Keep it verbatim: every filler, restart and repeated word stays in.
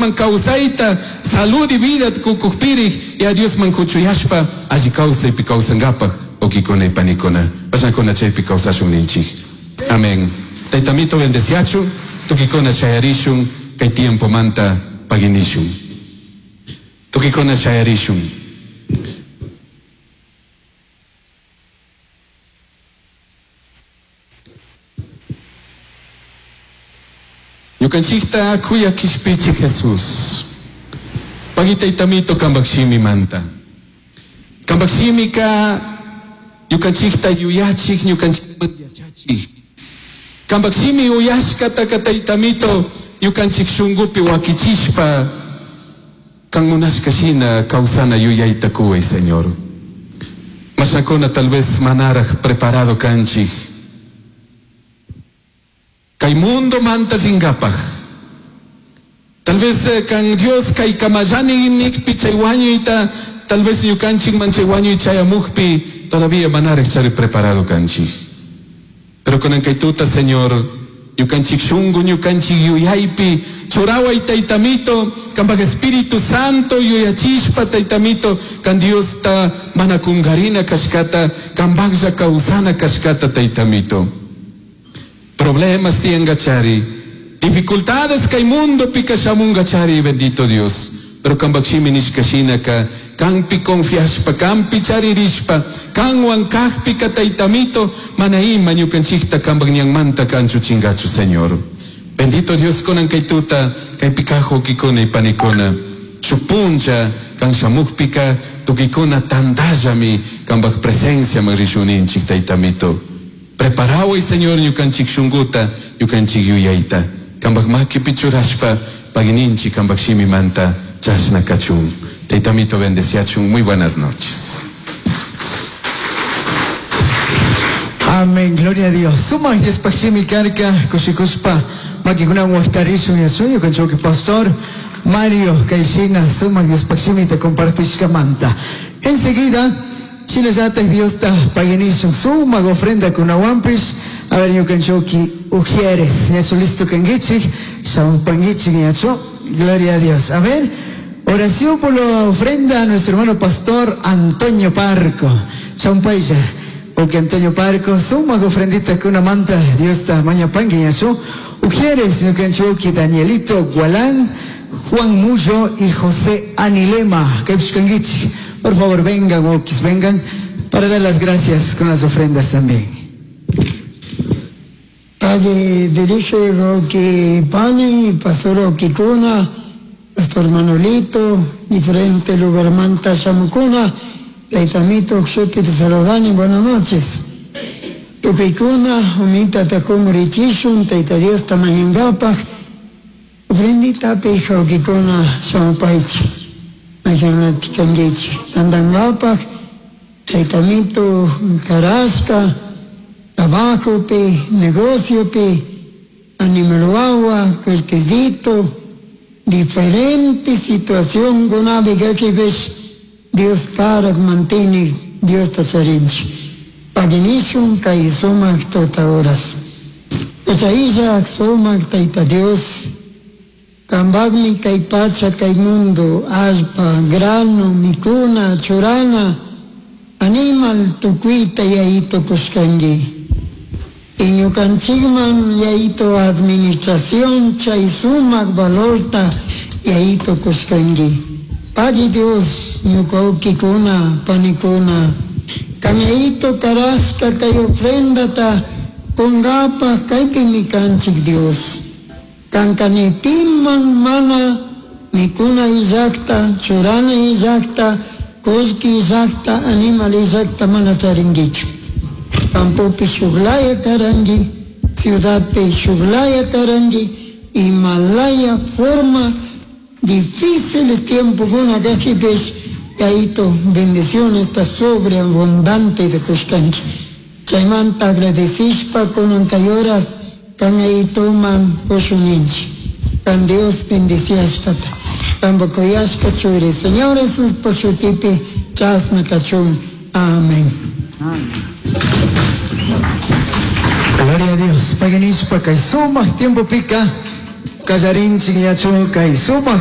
ñukanchikman kawsayta salud y vida kukukpirik Yaya Diosman kuchuyashpa alli kawsaypi kawsankapaj wawkikuna y panikuna pashnakuna chaypi kawsashun ninchik. Amén. Taytamito bendeciachun, tukikuna shayarishun kay tiempomanta paginishun. Tukikuna shayarishun. Ñukanchikta kuyakishpichi Jesús. Pagi taytamito kambakshimi manta. Kambakshimika ñukanchikta yuyachik, ñukanchikman yachachik. Kambakshimi uyashkataka taytamito ñukanchik shunkupi wakichishpa kan munashka shina kawsana yuyayta kuway, Señor. Mashakuna tal vez manaraj preparado kanchik. Kay mundo manta ringapaj. Tal vez eh, kan Dios kay kamallani nikpi chay wañuyta, tal vez ñukanchik man chay wañuy chayamukpi todavía manaraj chari preparado kanchik. Pero kunan kay tuta, Señor, ñukanchik shunku, ñukanchik yuyaypi, churaway taytamito, kanpak Espíritu Santo yuyachishpa taytamito, kan Diosta mana kungarina kashkata, kanpaklla kawsana kashkata taytamito. Problemas tiangachari, dificultades kay mundo pika shamungachari, bendito Dios. Pero kanpakshimi nishkashinaka, kanpi confiashpa, kanpi charirishpa, kanwan kakpika taytamito, mana ima ñukanchikta kanpak ñanmanta kanchuchingachu, Señor. Bendito Dios kunan kay tuta, kaypi kaj wawkikuna y panikuna. Shuk puncha, kan shamukpika, tukikuna tantallami kanpak presencia man rishuninchik taytamito. Preparaway, Señor, ñukanchik shunkuta, ñukanchik yuyayta. Kanpak makipi churashpa, pagininchik kanpak shimimanta chashna kachun. Taytamito bendeciachun. Muy buenas noches. Amén, gloria a Dios. Suma Diospashimi karka, kushikuspa, makikunan waqtarishun yasuyo, kanchoki pastor Mario Kaishina, suma Diospashimi te compartishkamanta. Enseguida, shinallatak Diosta paginishun, suma ofrenda kunawanpish, a ver ñukanchoki ujieres, ñachu listo kangichik, shampangichik ñachu, gloria a Dios. A ver, oración por la ofrenda a nuestro hermano pastor Antonio Parco. Champaya. O que Antonio Parco, suma ofrendita con una manta, Dios ta maña pangue ñachu. Ujieres, ñukanchoki Danielito Gualán, Juan Mullo y José Anilema. Kepshkangichi. Por favor, vengan, okis, vengan, para dar las gracias con las ofrendas también. Padre, dirige Roque Pani, Pastor Oquicuna, Pastor Manolito, diferente lugar manta Shamucuna, Taitamito, Xuti, Saludani, buenas noches. Tupicuna, Umita Takumurichishun, Taita Dios Tamañangapaj, ofrendita Pijo Oquicuna, Shamupaichi, Mayanati Kangichi, Tandangapaj, Taitamito, Carasca, trabajo pi, negocio pi, animalwawa, cuerquecito, diferente situación con ves Dios karak mantiene, Dios tacharinchi. Paginishun kay sumak tota horas. Uchailla sumak taita Dios, kambagmi kay pacha kay mundo, allpa, grano, mikuna, churana, animal tukuita yaito kushkangi. Iñukanchikman yaito administración chay sumak valorta yaito kushkangi. Pagi Dios ñukaukikuna panikuna kamaito karashka kay ofrendata kungapaj kaypimi kanchik Dios. Kankanipiman mana mikuna illakta, churana illakta, kullki illakta, animal illakta mana charinkichu. Campopi shuklaya karangi, ciudadpi shuklaya karangi, Himalaya forma difíciles tiempos kuna kajipis, yaito bendición está sobreabundante de kushkanki. Chaymanta agradecishpa kunan kay horas kamaitoman kushuninchi. Kan Dios bendiciashkata. Tambokoyashka churi. Señor Jesús pochutipi chasna kachun. Amén. Gloria a Dios. Paganishpa kay sumaq tiempo pika kallarinchik ñachu kay sumaq